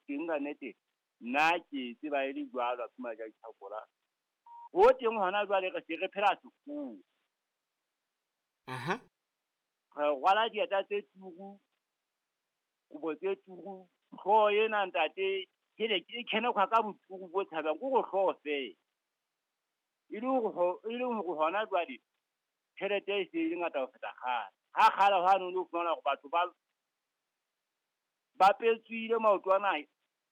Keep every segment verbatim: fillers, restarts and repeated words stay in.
Teng ka nnete nna ke tseba e le jwalo a phuma ja ditlhakola. Ho teng hona jwale re se re phela sekgowa. Aha. Re rwala dieta tse turu, kobo tse turu, hlooho ena ntate ke e khenekgwa ka boturu bo tshabehang, ke hore hlooho feela. E le hore e le hore hona jwale tjhelete e se e le ngata ho feta kgale. Ha kgale hwane o no fumana hore batho ba ba petswile maoto ana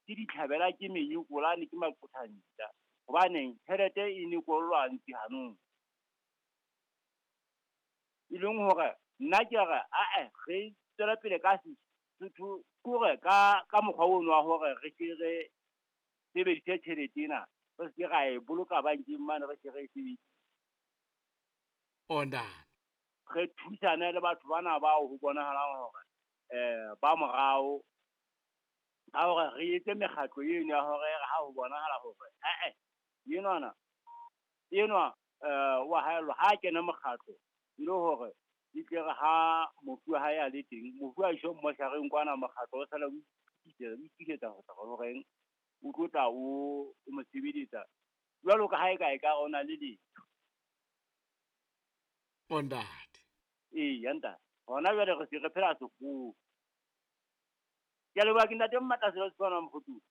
ke ditlhabela ke menyekolane ke maqothantja. Hobaneng tjhelete e ne kollwa ntsi hanong. E leng hore nna ke re ae re tswele pele ka Sesotho kore ka ka mokgwa ono wa hore re ke re sebedise tjhelete ena, re se ke ra e boloka bankeng mane, re ke re e sebedise. Onda. Re thusane le batho bana bao ho bonahalang hore eh ba morao ka hore re etse mekgatlo eno ya hore ha ho bonahala hore eh enwana enwa eh wa haellwa ha kena mokgatlo e le hore e tle re ha mofu wa hae a le teng, mofu a iswe mmoshareng kwana, mokgatlo o sala o itokisetsa ho tla horeng o tlo tla o o mo sebeletsa jwalo ka ha e ka e ka o na le letho. Ondate. Eya ntate, hona jwale re se re phela sekgowa. Ke a leboha ke ntate Mmatla Sefana Mokgothu.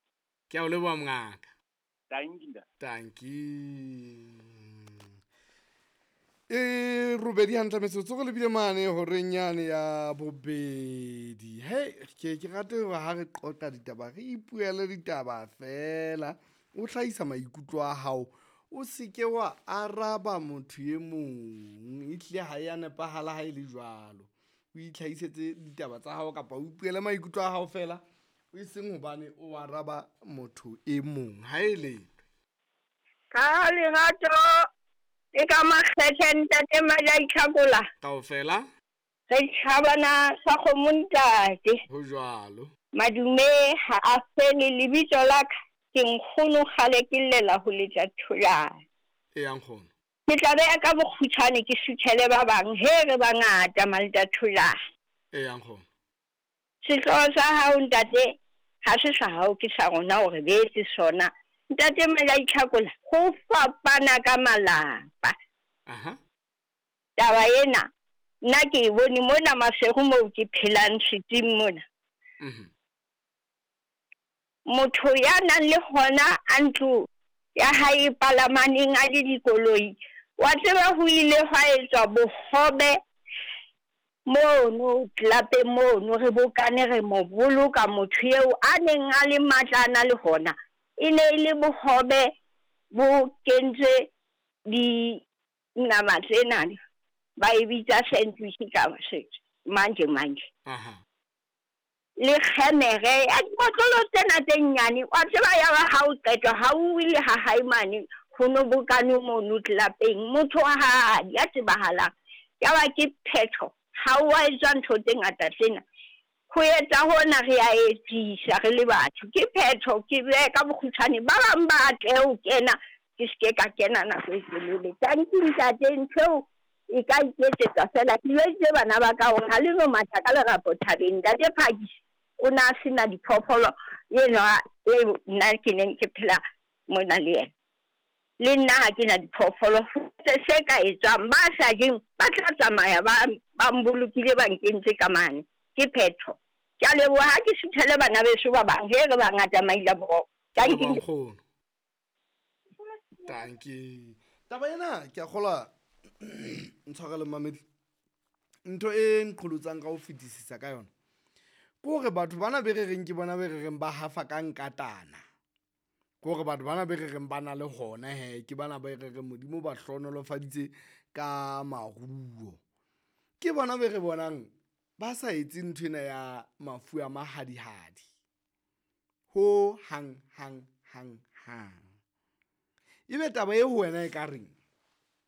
Ke a o leboha mongaka. Tanki ntate. Tanki. E robedi hantle metsotso re lebile mane horeng yane ya bobedi. Hei, ke ke rate hore ha re qoqa ditaba re ipuele ditaba fela. O hlahisa maikutlo a hao, o se ke wa araba motho e mong. Ehlile ha ya nepahala ha e le jwalo. O itlhahisetse ditaba tsa hao kapa o ipuele maikutlo a hao fela, e seng hobane o araba motho e mong. Ha e le Ka lerato le ka makgethe ntate Majaitlhakola. Kaofela Re tjhabana sa kgomo ntate. Ho jwalo. Madume ha a fele lebitso la ka ke nkgono kgale ke llela ho letla tholana. E nkgono. Ke tla beha ka bokgutshwane ke suthele ba bang he re bangata malta tholana. E nkgono. Sehlooho sa hao ntate ha se sa hao ke sa rona hore beetse sona. Ntate Majaitlhakola ho fapana ka malapa. Aha. Taba ena nna ke e bone mona Maseru moo ke phelang setsing mona. Mhm. Motho ya nang le hona a ntlo ya hae palamaneng a le dikoloi, wa tseba ho ile hwa etswa bohobe mono tlapeng mono re bokane re mo boloka motho eo a neng a le matla a na le hona. E ne e le bohobe bo kentswe dinama tsena ba e bitsa sandwich ka manje manje. Aha. Le kgemere ya dibotlolo tsena tse nnyane, wa tseba ya ba ha o qetwa ha o ile ha hae mane ho no bokane mono tlapeng motho wa hae ya tsebahalang. Ya ba ke phetho ha o a etswa ntho tse ngata tsena. Ho etsa hona re a etsisa re le batho ke phetho ke beha ka bokgutshwane ba bang ba tle ho kena ke se ka kena nako e telele. Tanki ntate ntho eo e ka iketsetsa fela ke jweditse bana ba ka hore ha le no matha ka lerapo thabeng. Ntate Phakisi o na a sena diphoofolo enwa e nna ke neng ke phela mona le yena. Le nna ha ke na diphoofolo se ka etswang ba sa jeng ba tla tsamaya ba ba mbolokile ba nkentse ka mane ke phetho. Ke a leboha ha ke suthele bana beso ba bang he re bangata maila boroko. Tanki nkgono. Tanki. Taba ena ke a kgolwa ntshwarele mamedi. Ntho e nqholotsang ka ho fetisisa ka yona ke hore batho bana be re reng ke bona be re reng ba hafa ka nkatana. Ke hore batho bana be re reng ba na le hona he ke bana ba re reng Modimo ba hlohonolofaditse ka maruo. Ke bona be re bonang ba sa etse ntho ena ya mafu a mahadihadi ho hang hang hang hang. Ebe taba e ho wena e ka reng?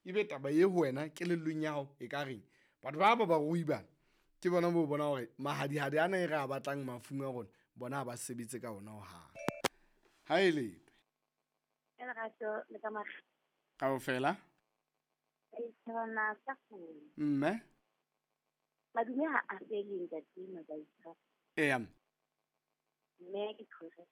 Ebe taba e ho wena kelellong ya hao e ka reng? Batho ba ba barui bana ke bona bo bona hore mahadihadi ana e re a batlang mafung a rona bona ha ba sebetse ka ona hohang. Ha e le Lerato le ka makgethe. Kaofela E tshwana sa kgolo. Mme Madume ha a fele ntate Mabaitha. Eya. Mme ke tshwere